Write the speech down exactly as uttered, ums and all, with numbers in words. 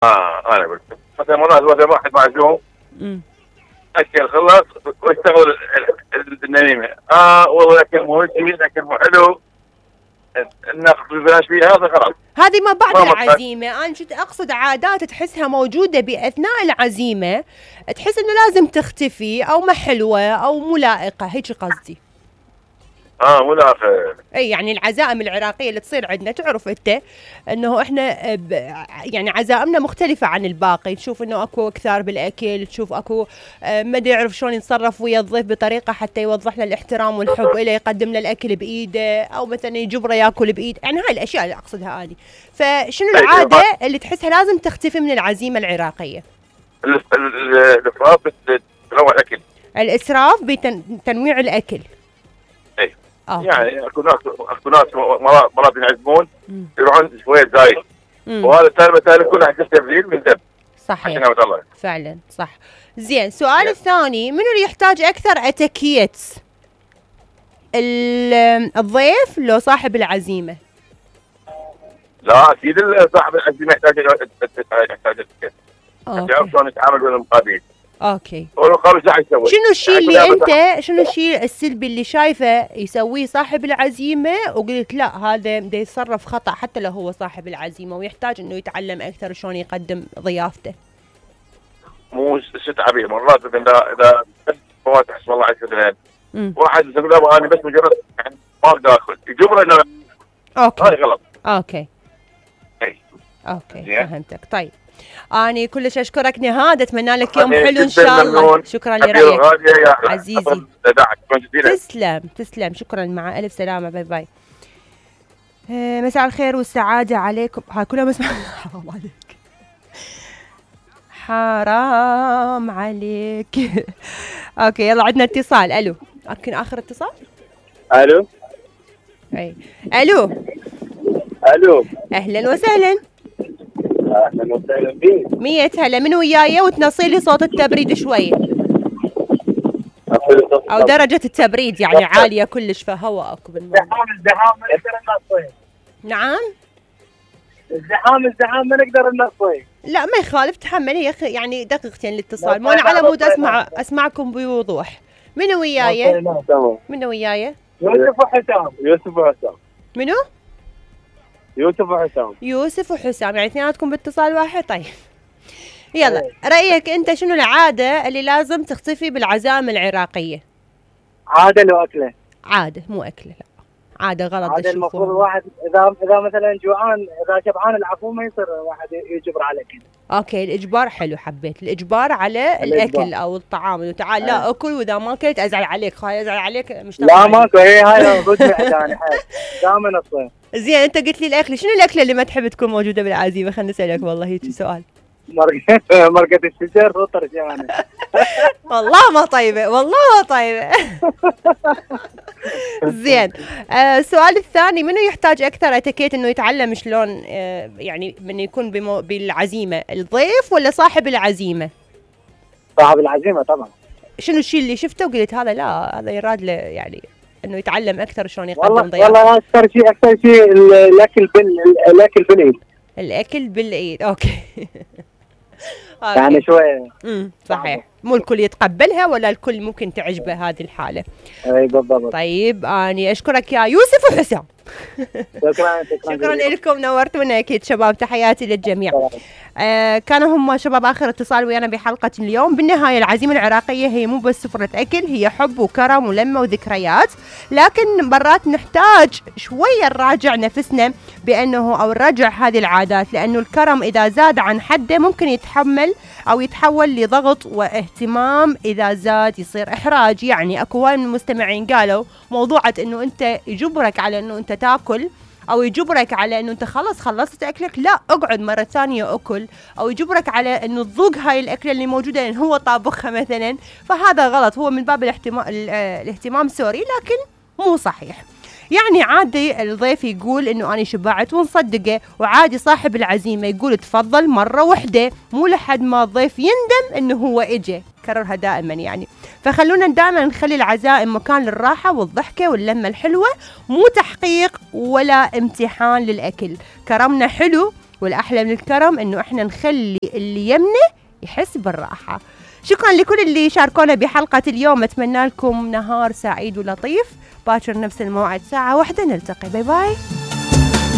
اه انا قلت مثلا مرات مثلا واحد معزوم امم اكل خلص واشتغل النميمه، اه والله الاكل مو جميل، الاكل مو حلو، ناخذ ببلاش فيها، هذا غلط. هذه ما بعد ما مطلع. العزيمة. أنا كنت أقصد عادات تحسها موجودة بأثناء العزيمة، تحس إنه لازم تختفي أو ما حلوة أو مو لائقة، هيك قصدي. اه مو لاخر. اي يعني العزائم العراقيه اللي تصير عندنا، تعرف انت انه احنا ب يعني عزائمنا مختلفه عن الباقي، تشوف انه اكو اكثار بالاكل، تشوف اكو آه ما يعرف شلون يتصرف ويا الضيف بطريقه حتى يوضح له الاحترام والحب له، يقدم له الاكل بايده او مثلا يجبره ياكل بايد، يعني هاي الاشياء اللي اقصدها اني. فشنو العاده اللي تحسها لازم تختفي من العزيمه العراقيه؟ الاسراف بتنوع الاكل. الاسراف بتنويع الاكل. اي أوكي. يعني اكو ناس اكو ناس مرات مرات ينعزمون يروحون شويه زايد، وهذا التالي مثلا كله حق تبذير من دم. صحيح الله. فعلا صح. زين، السؤال الثاني، منو اللي يحتاج اكثر اتيكيت؟ الضيف لو صاحب العزيمه؟ لا اكيد صاحب العزيمه يحتاج يحتاج اتيكيت. يعرف شلون يتعامل ويا المقابلين. اوكي. شنو الشيء اللي انت شنو الشيء السلبي اللي شايفه يسويه صاحب العزيمه وقلت لا هذا بده يتصرف خطا حتى لو هو صاحب العزيمه ويحتاج انه يتعلم اكثر شلون يقدم ضيافته؟ مو ست عبيه مرات اذا اذا فواتح اسم الله عز وجل واحد يقول له انا بس مجرد يعني ما اقدر اكل، يجبره انه اوكي هاي غلط. اوكي اي اوكي فهمتك. طيب أنا كلش أشكرك نهاد، أتمنى لك يوم حلو إن شاء الله. شكرا لرأيك عزيزي. تسلم تسلم، شكرا، مع ألف سلامة، باي باي. آه مساء الخير والسعادة عليكم. ها كلها مسمع. حرام عليك حرام عليك. أوكي يلا عندنا اتصال. ألو، يمكن آخر اتصال. ألو. أي ألو. ألو. أهلا وسهلا. اهلا وسهلا بيك. مية هلا، من وياي وتنصي لي صوت التبريد شوي او درجة التبريد يعني عالية كلش فهواء اكو بالموضوع. الزحام الزحام ما نقدر ننصيه. نعم الزحام الزحام ما نقدر ننصيه. لا ما يخالف، تحملي يا اخي يعني دقيقتين الاتصال، مو انا على مود اسمع اسمعكم بوضوح. من وياي؟ من وياي؟ يوسف وحسام. يوسف وحسام. منو؟ يوسف وحسام. يوسف وحسام، يعني اثنيناتكم باتصال واحد. طيب يلا رأيك انت شنو العادة اللي لازم تختفي بالعزائم العراقية؟ عادة لو أكلة. عادة مو أكلة، لا عادة غلط. عادة المفروض الواحد إذا إذا مثلا جوعان، إذا شبعان العفو ما يصير واحد يجبر على الأكل. اوكي الإجبار حلو، حبيت الإجبار على الأكل الإجبار. أو الطعام، إنه تعال لا أه. أكل وإذا ما أكلت أزعل عليك، خاي أزعل عليك مش لا ماكو، هي هاي المفروض يعني دائما الصيف. زين أنت قلت لي الأكل، شنو الأكلة اللي ما تحب تكون موجودة بالعزيمة؟ خليني أسألك والله هيك سؤال. مرقة مرقة الشجر وطرجانة. والله ما طيبة، والله ما طيبة. زين آه السؤال الثاني، منو يحتاج أكثر اتيكيت إنه يتعلم شلون آه يعني من يكون بمو بالعزيمة، الضيف ولا صاحب العزيمة؟ صاحب العزيمة طبعا. شنو الشيء اللي شفته وقلت هذا لا هذا يراد له يعني إنه يتعلم أكثر شلون يقدم ضيافة؟ والله أكثر شيء أكثر شيء الأكل بال الأكل بالإيد. الأكل بالإيد أوكي. يعني شوية. امم صحيح، مو الكل يتقبلها ولا الكل ممكن تعجبه هذه الحالة. اي بالضبط. طيب أنا أشكرك يا يوسف وحسام. شكرا شكرا شكرا لكم، نورتونا أكيد شباب، تحياتي للجميع. آه كانوا هم شباب آخر اتصال ويانا بحلقة اليوم. بالنهاية العزيمة العراقية هي مو بس سفرة أكل، هي حب وكرم ولمة وذكريات، لكن مرات نحتاج شوية نراجع نفسنا بأنه أو نراجع هذه العادات، لأنه الكرم إذا زاد عن حده ممكن يتحمل أو يتحول لضغط، واهتمام إذا زاد يصير إحراج. يعني أكو هواي من المستمعين قالوا موضوعة أنه أنت يجبرك على أنه أنت تاكل او يجبرك على انه انت خلص خلصت اكلك لا اقعد مره ثانيه اكل، او يجبرك على انه تذوق هاي الاكله اللي موجوده لان هو طابخها مثلا، فهذا غلط، هو من باب الاهتمام الاهتمام سوري لكن مو صحيح. يعني عادي الضيف يقول انه انا شبعت ونصدقه، وعادي صاحب العزيمه يقول تفضل مره وحده، مو لحد ما الضيف يندم انه هو اجى، كررها دائما يعني. فخلونا دائما نخلي العزائم مكان للراحه والضحكه واللمه الحلوه، مو تحقيق ولا امتحان للاكل. كرمنا حلو والأحلى من الكرم إنه إحنا نخلي اللي يمنا يحس بالراحة. شكرا لكل اللي شاركونا بحلقة اليوم، أتمنى لكم نهار سعيد ولطيف. باكر نفس الموعد ساعة واحدة نلتقي. باي باي.